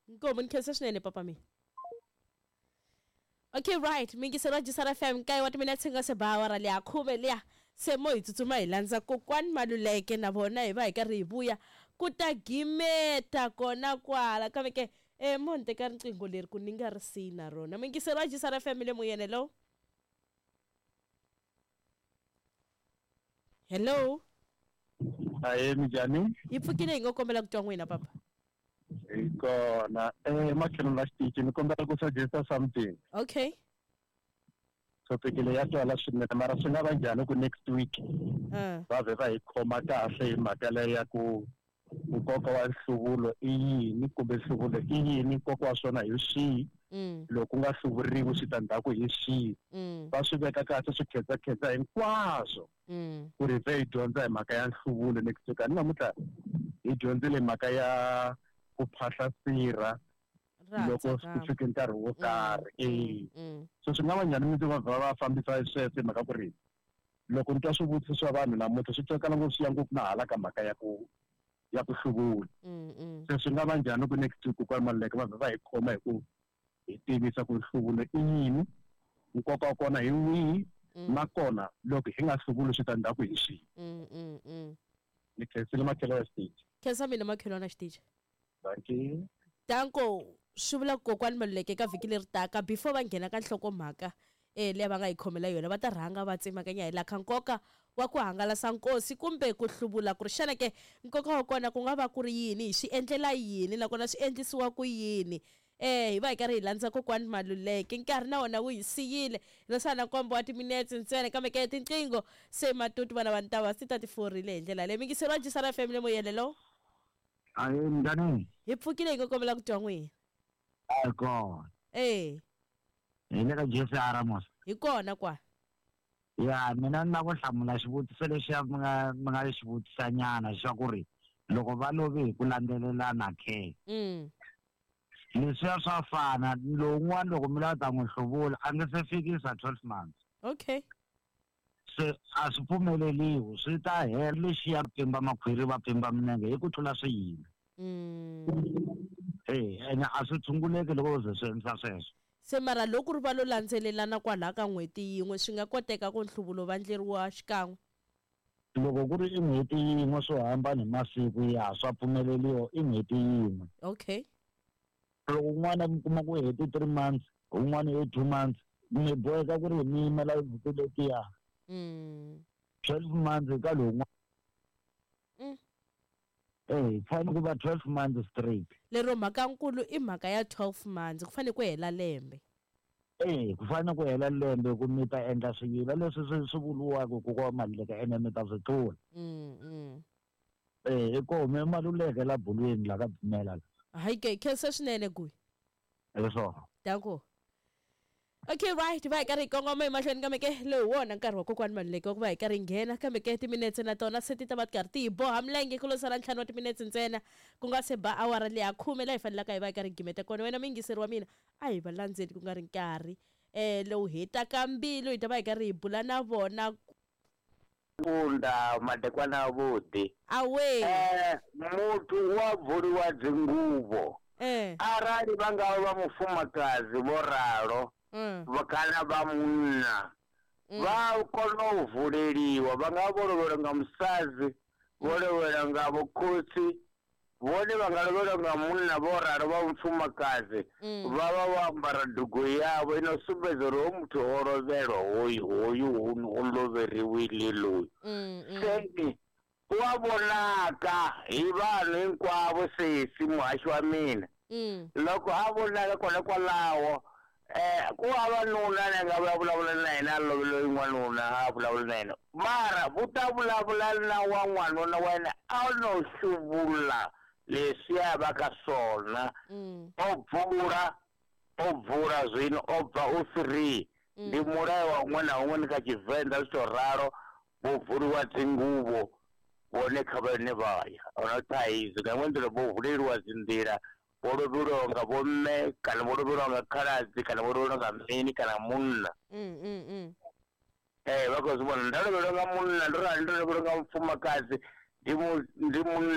Nkomu ni khensa swinene papa mina. Okay, right, mingiselo wa Jisara FM, nkaye wa timinetse nga se ba awara leya khume liya se mo hi tsutsuma hi landza kokwani Maluleke na vona hi va hi karhi hi vuya ku ta gimeta kona kwala kambe ke e mo ni teka riqingho leri ku ni nga ri siyi na rona. Mingiselo wa Jisara FM le moyeni. Hello, hello. Ahe, minjhani? Hi pfukile, hi ngo kombela ku twa n'wina papa. Hi kona makhelwani la xitichi, ni kombela ku suggesta something. Okay. Topic leyi ya twala swinene, mara swi nga va njhani ku next week va vhe va hi khoma kahle hi mhaka leyi ya ku nkoka wa nhluvulo i yini, kumbe nhluvulo i yini, nkoka wa swona hi swihi, loko ku nga hluvuriwi switandzhaku hi swihi, va swi veka kahle swi khensakhensa hinkwaswo, ku ri vhe hi dyondza hi mhaka ya nhluvulo next week. A ni namuntlha hi dyondzile hi mhaka ya ku phahla sirha loko ku fike nkarhi wo karhi, e so swi nga va njhani mi va va fambisa sweswo, hi mhaka ku ri loko ni twa swivutiso swa vanhu namuntlha swi twakala ngopfu, swi ya ngopfu na hala ka mhaka ya ku hluvula. Se swi nga va njhani ku next week kokwani Maluleke va vhe va hi khoma hi ku hi tivisa ku nhluvulo i yini, nkoka wa kona hi wihi, nakona loko hi nga hluvuli switandzhaku hi swihi? Ni khensile, makhelo ya xitichi. Khensa mina, makhelwana xitichi. Dankie. Danko. Swi vula ku kokwani Maluleke ka vhiki leri taka, before va nghena ka nhlokomhaka leyi va nga yi khomela yona, va ta rhanga va tsemakanya hi laha ka nkoka wa ku hangalasa nkosi kumbe ku hluvula, ku ri xana ke nkoka wa kona ku nga va ku ri yini, hi swi endlela yini, nakona swi endlisiwa ku yini. Hi va hi karhi hi landza kokwani Maluleke. Nkarhi na wona wu hi siyile, hi lo sala na nkombo wa timinetse ntsena, kambe ke tinqingho se matutu vana va ntava ti ta ti forile hi ndlela leyi. Mingiselo wa Jisara FM le moyeni. Hello. Ahe, minjhani? Hi pfukile, hi ngo kombela ku twa n'wina. A hi kona. Hi le ka JCR mos. Hi kona kwa. Ya, mina ni lava ku hlamula xivutiso lexiya mi nga xi vutisanyana xa ku ri loko va love hi ku landzelelana ke. Leswiya swa fana, lowun'wana loko mi lava ta n'wi hluvula a nge se fikisa 12 months. Se a swi pfumeleliwi, swi ta hela lexiya pfimba makhwiri, va pfimba minenge hi ku tlula swiyila. Ene a swi tshunguleki loko u ze swi endlisa sweswo. Se mara loko ri va lo landzelelana kwalaha ka n'hweti yin'we, swi nga koteka ku nhluvulo va ndleriwa xikan'we? Loko ku ri i n'hweti yin'we, swo hambana hi masiku, ya, swa pfumeleliwa i n'hweti yin'we. Loko un'wana mi kuma ku heti 3 months, un'wana i 2 months, mi boheka ku ri mi yimela n'hweti letiya 12 months ka lowun'wana. Fanele ku va 12 months straight. Lero mhaka nkulu i mhaka ya 12 months, ku fanele ku hela lembe. Ku fanele ku hela lembe ku mi ta endla swiyila leswi swi vuriwaka ku kwa Maluleke, ene mi ta swi tlula. I koho mi Maluleke la bulweni la ka pfumela la. Hayi ke, khensa swinene guyi. Hi swona. Danko. Okay, right, va hi karhi hi kongoma emahlweni, kambe ke lowu wona nkarhi wa kokwani Maluleke wa ku va hi karhi hi nghena, kambe ke timinetse na tona se ti ta va ti karhi ti hi boha milenge, ku lo sala 5 wa timinetse ntsena ku nga se ba awara leya khume laha hi fanelaka hi va hi karhi hi gimeta kona. Wena muyingiseri wa mina, a hi va landzeli ku nga ri nkarhi lowu hetaka mbilu, hi ta va hi karhi hi bula na vona. Kunda madekwana avhuḓi. Awe. Muthu wa bvuliwa dzinguvho arali vha nga vha mufumakadzi vho ralo, kana vha munna vha kona u vuleliwa, vha nga vho lovhelwa nga musadzi, vho lovhelwa nga vhokhotsi, vhone vha nga lovhelwa nga munna vho ralo vha mufumakadzi, vha vha vho ambara dugu yavho ino sumbedza uri ho muthu o lovhelwa, hoyu hoyu o loveriwile loyi. Seni wa vonaka hi vanhu hinkwavo, sesi muhaxi wa mina. Loko a vonaka kona kwalaho, ku vavanuna la nga vulavula na yena a loveliwe n'wanuna, a vulavula na yena, mara vu ta vulavula na wa n'wanuna wa yena a no hluvula leswiya va ka swona. O bvula zwino o bva u free. Ndi mulayo wa huṅwe na huṅwe, ni kha Tshivenḓa zwi to ralo, vho bvuliwa dzinguvho vhone kha vhane vha ya ahuna thaidzo. Nga iṅwe nḓila vho vuleliwa dzinḓila, vho lovheliwaho nga vhomme kana vho lovheliwa nga khaladzi kana vho lovheliwa nga mini kana munna. Vha khou zwi vhona, nda lovhelwa nga munna ndo rali, ndo lovhelwa nga mufumakadzi ndi mu ndi munna.